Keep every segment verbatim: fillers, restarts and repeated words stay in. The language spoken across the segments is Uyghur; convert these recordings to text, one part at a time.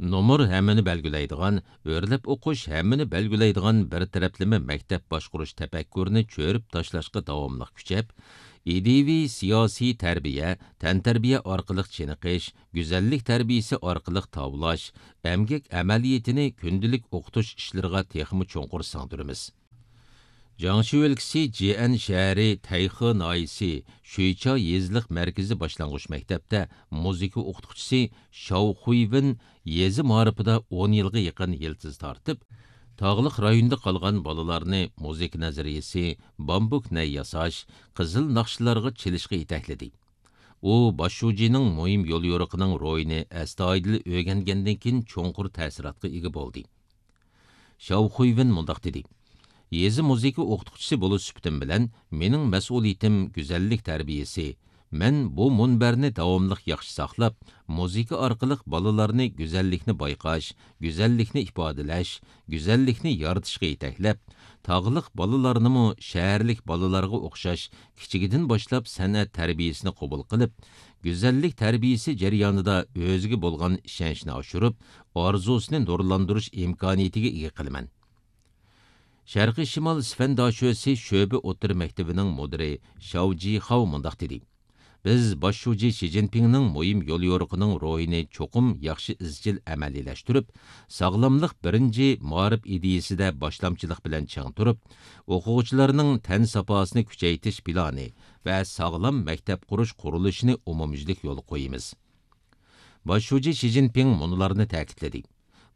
نومۇر ھەممىنى بەلگىلەيدىغان، ئۆرلەپ ئوقۇش ھەممىنى بەلگىلەيدىغان بىر تەرەپلىمە مەكتەپ باشقۇرۇش تەپەككۇرىنى چۆرۈپ تاشلاشقا داۋاملىق كۈچەپ، ئىدىيىۋى سىياسىي تەربىيە، تەنتەربىيە ئارقىلىق چېنىقىش، گۈزەللىك تەربىيىسى ئارقىلىق تاۋلاش، ئەمگەك ئەمەلىيىتىنى كۈندىلىك ئوقۇتۇش ئىشلىرىغا تېخىمۇ چوڭقۇر سىڭدۈرىمىز. جياڭشى ئۆلكىسى جيەن شەھىرى تەيخې ناھىيەسى شۈيچا يېزىلىق مەركىزىي باشلانغۇچ مەكتەپتە مۇزىكا ئوقۇتقۇچىسى شاۋ خۇيۋېن يېزا مائارىپىدا ئون يىلغا يېقىن يىلتىز تارتىپ، تاغلىق رايوندا قالغان بالىلارنى مۇزىكا نەزەرىيەسى، بامبۇك نەي ياساش، قىزىل ناخشىلارغا چېلىشقا يېتەكلىدى. ئۇ باش شۇجىنىڭ مۇھىم يوليورۇقىنىڭ روھىنى ئەستايىدىل ئۆگەنگەندىن كېيىن چوڭقۇر تەسىراتقا ئىگە بولدى. شاۋ خۇيۋېن مۇنداق دېدى: يېزا مۇزىكا ئوقۇتقۇچىسى بولۇش سۈپىتىم بىلەن، مېنىڭ مەسئۇلىيىتىم گۈزەللىك تەربىيىسى. مەن بۇ مۇنبەرنى داۋاملىق ياخشى ساقلاپ، مۇزىكا ئارقىلىق بالىلارنى گۈزەللىكنى بايقاش، گۈزەللىكنى ئىپادىلەش، گۈزەللىكنى يارىتىشقا يېتەكلەپ، تاغلىق بالىلارنىمۇ شەھەرلىك بالىلارغا ئوخشاش كىچىكىدىن باشلاپ سەنئەت تەربىيەسىنى قوبۇل قىلىپ، گۈزەللىك تەربىيەسى جەريانىدا ئۆزىگە بولغان ئىشەنچنى ئاشۇرۇپ، ئارزۇسىنى نۇرلاندۇرۇش ئىمكانىيىتىگە ئىگە قىلىمەن. شەرقىي شىمال سفەن داشۆسى شۆبە ئوتتۇرا مەكتىپىنىڭ مۇدىرى شاۋ جىخاۋ مۇنداق دېدى: بىز باش شۇجى شى جىنپىڭنىڭ مۇھىم يوليورۇقىنىڭ روھىنى چوقۇم ياخشى ئىزچىل ئەمەلىيلەشتۈرۈپ، ساغلاملىق بىرىنچى مائارىپ ئىدىيىسىدە باشلامچىلىق بىلەن چىڭ تۇرۇپ، ئوقۇغۇچىلارنىڭ تەن ساپاسىنى كۈچەيتىش پىلانى ۋە ساغلام مەكتەپ قۇرۇش قۇرۇلۇشىنى ئومۇميۈزلۈك يولغا قويىمىز. باش شۇجى شى جىنپىڭ مۇنۇلارنى تەكىتلىدى: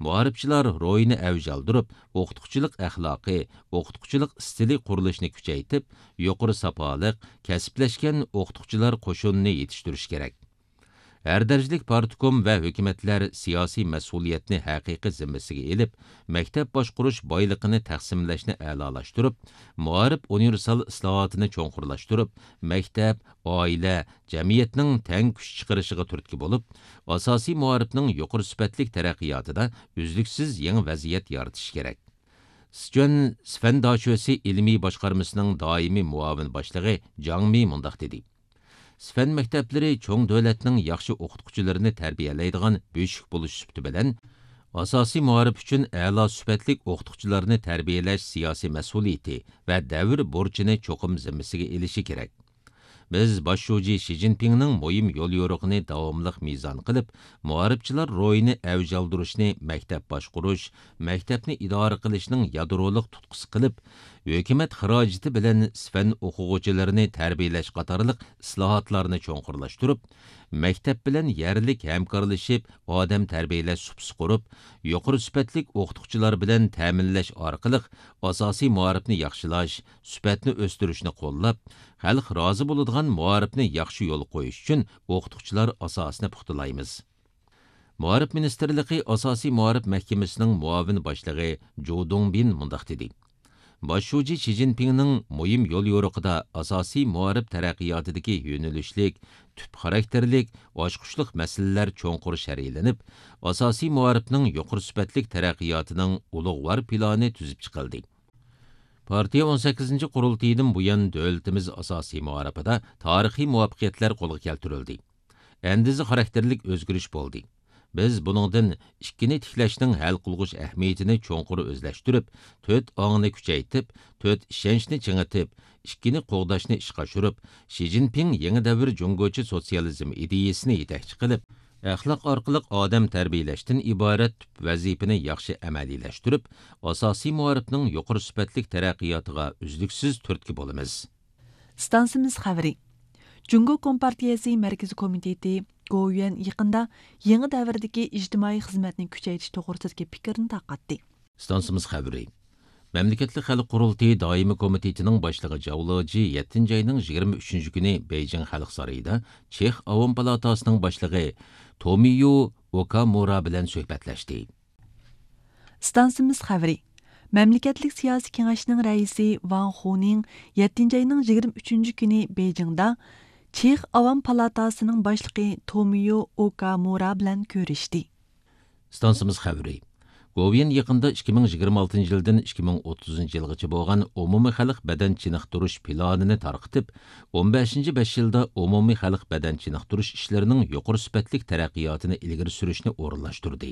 مائارىپچىلار روھىنى ئەۋج ئالدۇرۇپ، ئوقۇتقۇچىلىق ئەخلاقى، ئوقۇتقۇچىلىق ئىستىلى قۇرۇلۇشىنى كۈچەيتىپ، يۇقىرى ساپالىق، كەسىپلەشكەن ئوقۇتقۇچىلار قوشۇنىنى يېتىشتۈرۈش كېرەك. ھەر دەرىجىلىك پارتكوم ۋە ھۆكۈمەتلەر سىياسىي مەسئۇلىيەتنى ھەقىقىي زىممىسىگە ئېلىپ، مەكتەپ باشقۇرۇش بايلىقىنى تەقسىملەشنى ئەلالاشتۇرۇپ، مائارىپ ئۇنىۋېرسال ئىسلاھاتىنى چوڭقۇرلاشتۇرۇپ، مەكتەپ، ئائىلە، جەمئىيەتنىڭ تەڭ كۈچ چىقىرىشىغا تۈرتكە بولۇپ، ئاساسىي مائارىپنىڭ يۇقىرى سۈپەتلىك تەرەققىياتىدا ئۈزلۈكسىز يېڭى ۋەزىيەت يارىتىش كېرەك. سىچۈەن سىفەن داشۆسى ئىلمىي باشقارمىسىنىڭ دائىمىي مۇئاۋىن باشلىقى جاڭ مى مۇنداق دېدى: سىفەن مەكتەپلىرى چوڭ دۆلەتنىڭ ياخشى ئوقۇتقۇچىلىرىنى تەربىيەلەيدىغان بۆشۈك بولۇش سۈپىتى بىلەن، ئاساسىي مائارىپ ئۈچۈن ئەلا سۈپەتلىك ئوقۇتقۇچىلارنى تەربىيەلەش سىياسىي مەسئۇلىيىتى ۋە دەۋر بۇرچىنى چوقۇم زىممىسىگە ئېلىشى كېرەك. بىز باش شۇجى شى جىنپىڭنىڭ مۇھىم يوليورۇقىنى داۋاملىق مىزان قىلىپ، مائارىپچىلار روھىنى ئەۋج ئالدۇرۇشنى مەكتەپ باشقۇرۇش، مەكتەپنى ئىدارە قىلىشنىڭ يادرولۇق تۇتقىسى قىلىپ، ھۆكۈمەت خىراجىتى بىلەن سىفەن ئوقۇغۇچىلىرىنى تەربىيەلەش قاتارلىق ئىسلاھاتلارنى چوڭقۇرلاشتۇرۇپ، مەكتەپ بىلەن يەرلىك ھەمكارلىشىپ، ئادەم تەربىيەلەش سۇپىسى قۇرۇپ، يۇقىرى سۈپەتلىك ئوقۇتقۇچىلار بىلەن تەمىنلەش ئارقىلىق ئاساسىي مائارىپنى ياخشىلاش، سۈپەتنى ئۆستۈرۈشنى قوللاپ، خەلق رازى بولىدىغان مائارىپنى ياخشى يولغا قويۇش ئۈچۈن ئوقۇتقۇچىلار ئاساسىنى پۇختىلايمىز. مائارىپ مىنىستىرلىقى ئاساسىي مائارىپ مەھكىمىسىنىڭ مۇئاۋىن باشلىقى جۇ دۇڭبىن مۇنداق دېدى: باش شۇجى شى جىنپىڭنىڭ مۇھىم يوليورۇقىدا ئاساسىي مائارىپ تەرەققىياتىدىكى يۆنىلىشلىك، تۈپ خاراكتېرلىك، ئاچقۇچلۇق مەسىلىلەر چوڭقۇر شەرھلىنىپ، ئاساسىي مائارىپنىڭ يۇقىرى سۈپەتلىك تەرەققىياتىنىڭ ئۇلۇغۋار پىلانى تۈزۈپ چىقىلدى. پارتىيە ئون سەككىزىنچى قۇرۇلتىيىدىن بۇيان، دۆلىتىمىز ئاساسىي مائارىپىدا تارىخىي مۇۋەپپەقىيەتلەر قولغا كەلتۈرۈلدى. ئەندىزە خاراكتېرلىك ئۆزگىرىش بولدى. بىز بۇنىڭدىن ئىككىنى تىكلەشنىڭ ھەل قىلغۇچ ئەھمىيىتىنى چوڭقۇر ئۆزلەشتۈرۈپ، تۆت ئاڭنى كۈچەيتىپ، تۆت ئىشەنچنى چىڭىتىپ، ئىككىنى قوغداشنى ئىشقا ئاشۇرۇپ، شى جىنپىڭ يېڭى دەۋر جۇڭگوچە سوتسىيالىزم ئىدىيىسىنى يېتەكچى قىلىپ، ئەخلاق ئارقىلىق ئادەم تەربىيەلەشتىن ئىبارەت تۈپ ۋەزىپىنى ياخشى ئەمەلىيلەشتۈرۈپ، ئاساسىي مائارىپنىڭ يۇقىرى سۈپەتلىك تەرەققىياتىغا ئۈزلۈكسىز تۈرتكە بولىمىز. ئىستانسىمىز خەۋىرى. جۇڭگو كومپارتىيەسى مەركىزىي كومىتېتى گوۋۇيۈەن يېقىندا يېڭى دەۋردىكى ئىجتىمائىي خىزمەتنى كۈچەيتىش توغرىسىدىكى پىكىرنى تارقاتتى. ئىستانسىمىز خەۋىرى. مەملىكەتلىك خەلق قۇرۇلتىيى دائىمىي كومىتېتىنىڭ باشلىقى جاۋ لېجى يەتتىنچى ئاينىڭ يىگىرمە ئۈچىنچى كۈنى بېيجىڭ خەلق سارىيىدا چېخ ئاۋام پالاتاسىنىڭ باشلىقى تومىيو ئوكامۇرا بىلەن سۆھبەتلەشتى. ئىستانسىمىز خەۋىرى. مەملىكەتلىك سىياسىي كېڭەشنىڭ رەئىسى ۋاڭ خۇنىڭ يەتتىنچى ئاينىڭ يىگىرمە ئۈچىنچى كۈنى بېيجىڭدا چېخ ئاۋام پالاتاسىنىڭ باشلىقى تومىيو ئوكامۇرا بىلەن كۆرۈشتى. ئىستانسىمىز خەۋىرى. گوۋۇيۈەن يېقىندا ئىككى مىڭ يىگىرمە ئالتىنچى يىلدىن ئىككى مىڭ ئوتتۇزىنچى يىلغىچە بولغان ئومۇمىي خەلق بەدەن چېنىقتۇرۇش پىلانىنى تارقىتىپ، ئون بەشىنچى بەش يىلدا ئومۇمىي خەلق بەدەن چېنىقتۇرۇش ئىشلىرىنىڭ يۇقىرى سۈپەتلىك تەرەققىياتىنى ئىلگىرى سۈرۈشنى ئورۇنلاشتۇردى.